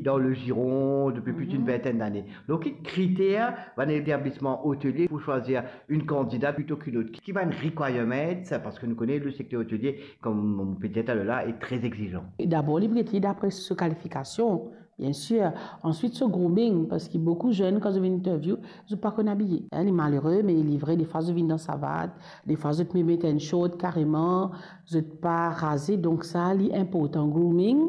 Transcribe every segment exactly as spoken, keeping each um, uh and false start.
dans le giron depuis plus d'une vingtaine d'années. Donc, ki kriter bann etablisman otelie pou swazir enn kandida plito ki lot? Ki bann requirements, parski nou kone le secteur hôtelier, comme on peut dire tout à l'heure là, est très exigeant. Dabor, li pou gete dapre so kalifikasion, bien sûr. Answit, so grooming, parski boukou zenn, kan zot vinn interview, zot pa konn abiye. Hein, li malere, me li vre, defwa zot vinn dan savat, defwa zot mem met enn short kareman, zot pa raze, donk sa, li inportan. Grooming,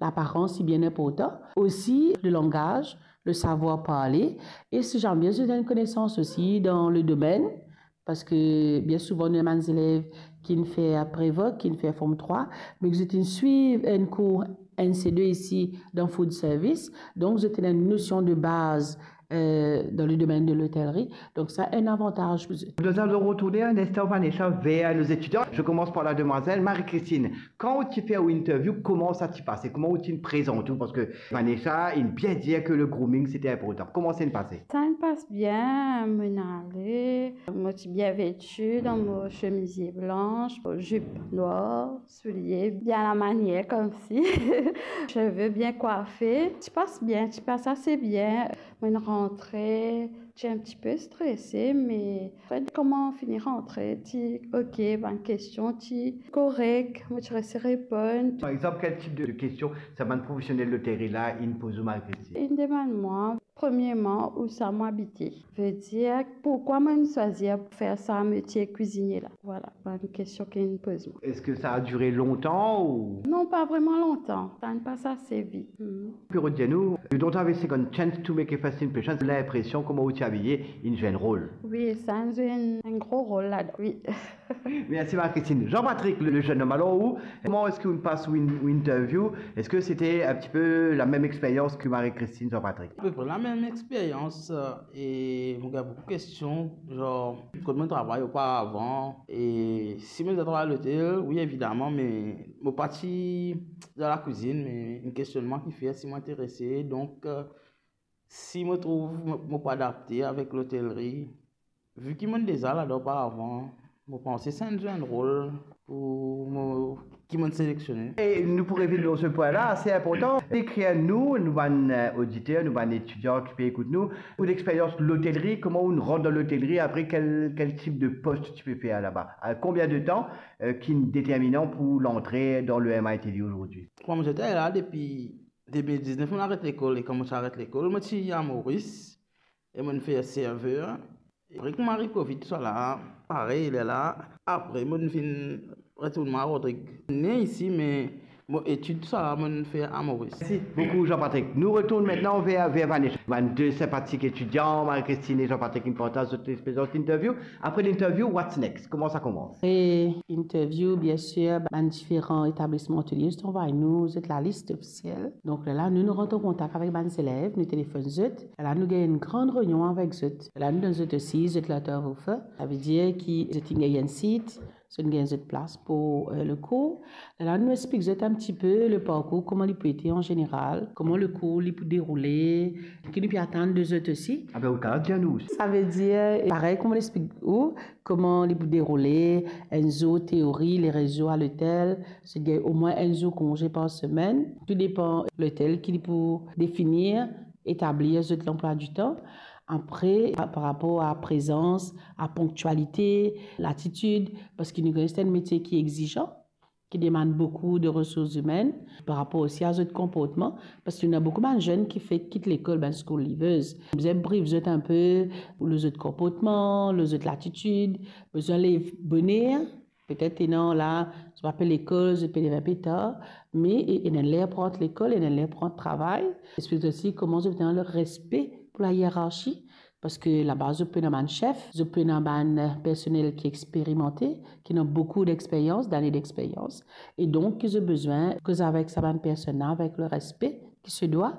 laparans, li bien inportan. Osi, le langaz, le savwar parle, e si zame zot ena enn konesans osi dan le domenn, parski bien souvan, nou ena bann zelev ki'nn fer pre-voc, ki'nn fer Form trwa, me ki zot inn swiv enn kour N C deux isi dan food service, donk zot ena enn nosion de baz, euh, dan le domenn de lotelri. Donk sa, enn avantaz pou zot. Nous allons retourner un instant, Vanessa, vers nos étudiants. Je commence par la demoiselle Marie-Christine. Kan ou ti fer ou interview, kouma sa ti pase? Kouma ou ti prezant ou? Parski Vanessa inn bien dir ke le grooming, c'était important. Kouma sa inn pase? Sa inn pas bien, mo'nn ale, mo ti bien veti dan mo semizie blanch, zip nwar, soulie bien lamanier, koumsi seve bien kwafe. Ti pas bien, ti pas ase bien. Mo'nn rantre, ti enn tipe strese, me kouma fini rantre, ti ok, bann kestion ti korek, mo ti resi reponn. Par exemple, quel type de, de questions sa bann profesionel lotelri la inn poz ou, Marie-Christine? Inn demann mwa, premierman, ousa mo abite. Vedir, pourkwa mo'nn swazir fer sa metie kwizinie la? Vwala, bann kestion ki'nn poz mwa. Est-ce que ça a duré longtemps ou? Non, pa vreman lontan. Sa inn pas ase vit. Hmm. Pou redir nou, you don't have a second chance to make a first impression. Linpresion kouma ou ti abiye inn zwe enn rol. Wi, sa inn zwe enn, enn gro rol ladan, wi. Merci Marie-Christine. Jean-Patrick, le, le jeune homme, alors ou, comment est-ce que ou pas ou in-, ou interview? Est-ce que c'était un petit peu la même expérience que Marie-Christine, Jean-Patrick? Apepre lamem experyans, euh, e mo gagn boukou kestion, zanr, kot mo'nn travay oparavan, e si mo'nn travay lotel, wi, evidaman, me mo pa ti dan lakwizinn, me enn kestionn mwa ki fer si mo interese. Donk, euh, si mo trouv mo, mo pa adapte avek lotelri, vi ki mo'nn deza ladan oparavan, mo panse sa inn zwe enn rol pou mo, ki mo'nn seleksionnen. E nou pou revinn lor se pwin la, ase inportan. Dekrir nou, nou bann, euh, oditer, nou bann etidian ki pe ekout nou, ou lexperyans lotelri, kouma ou rant dan lotelri, apre kel, kel tip de post ti pe fer laba? Euh, combien de temps, euh, ki determinan pou lantre dan le M I T D aujourd'hui? Kouma mo ti la depi de mil diznef, mo'nn aret lekol, e kan mo ti aret lekol, mo ti a Moris, e mo'nn fer server. Apre kouma ariv Covid, tousala, parey, lerla, apre mo'nn vinn retourn mwa Rodrig. Ne isi, me mo etid, tousala, mo'nn fer a Moris. Merci beaucoup, Jean-Patrick. Nou retourn aster ver, ver Vanessa. Bann de sinpatik etidian, Marie-Christine e Jean-Patrick, inn partaz zot lexperyans interview. Apre linterview, what's next? Kouma sa koumans? Apre interview, bien sir, bann diferan etablisman otelie, zot anvway nou zot lalis ofisiel. Donk, lerla, nou, nou rant an kontak avek bann zelev, nou telefonn zot. Lerla, nou gagn enn gran reynion avek zot. Lerla, nou donn zot osi zot letter of offer. Savedir ki zot inn gagn enn sit, zot inn gagn zot plas pou, euh, le kour. Lerla, nou explik zot enn tipe le parkour, kouma li pou ete an zeneral, kouma le kour li pou deroule, ki nou pe atann de zot osi. Ah ben, ou kapav dir nou osi. Savedir, parey, kouma nou explik ou, kouma li pou deroule, enn zour teori, lereszour a lotel, zot gagn omwin enn zour konze par semenn, tou depan lotel ki li pou definir, etablir zot lanplwa di tan. Apre, pa, par rapor a prezans, a ponktialite, latitid, parski nou kone se enn metie ki exizan, ki demann boukou de resours imenn, par rapor osi a zot konportman, parski nou ena boukou bann zenn ki fek kit lekol, bann school leavers. Bizin brief zot inpe lor zot konportman, lor zot latitid, bizin lev boner, petet ena la, zot pa pe lekol, zot pe lev inpe tar, me e, ena ler pou rant lekol, ena ler pou rant travay. Explik osi kouma zot ena le respe pou la hierarchie, parski laba zot pou ena bann sef, zot pou ena bann, euh, personel ki experimante, ki ena boukou dexperyans, dane dexperyans, e donk ki zot bizin koz avek sa bann personn la avek le respe ki se dwa,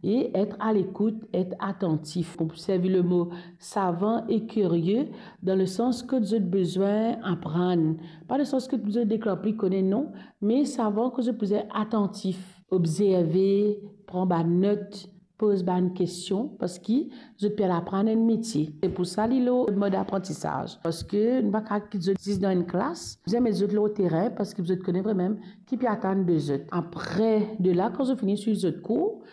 e et a lekout, et atantif. Pou servi le mo savan e kirie, dan le sans kot zot bizin aprann, pa dan le sans kot zot deklar pli kone, non, me savan kot zot bizin atantif, obzerve, pran bann not, poz bann kestion, parski zot pe al aprann enn metie. Se pou sa li lor mod aprantisaz. Parski nou pa kapav kit zot zis dan enn klas, bizin met zot lor terin, parski zot kone vremem ki pe atann de zot. Apre de la, kan zot fini swiv zot kour,